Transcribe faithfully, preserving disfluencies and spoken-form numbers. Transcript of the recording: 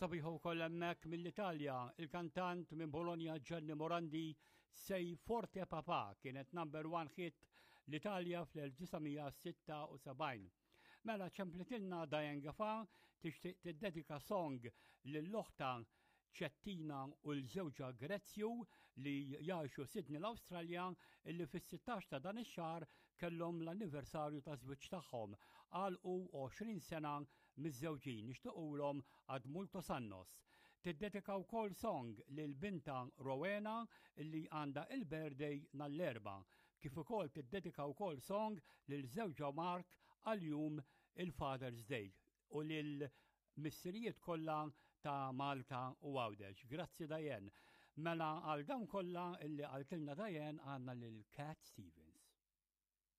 Sabiħa wkoll hemmhekk mill-Italja, il-kantant minn Bologna Gianni Morandi, "Sei Forte Papà" kienet number one hit l-Italja fl-elf disa' mija sitta u sebgħin. Mela ċemplitilna Diane Gafa, tixtieq tiddedika song lil oħtha Ċettina u lil żewġha Grezzju li jgħixu Sydney, l-Awstralja, illi fis-sittax ta' dan ix-xahar kellhom l-anniversarju ta' żwieġ tagħhom. Għalqu għoxrin sena miżżewġin, nixtiequlhom ad multos annos. Tiddedika wkoll song lil bintha Rowena illi għandha il-birthday nhar l-Erbgħa. Kif ukoll tiddedika wkoll song lil żewġha Mark għal jum il-Father's Day u lil missirijiet kollha ta' Malta u Għawdex. Grazzi, Diane. Mela għal dawn kollha illi qaltilna Diane għandna lil Cat Stevens.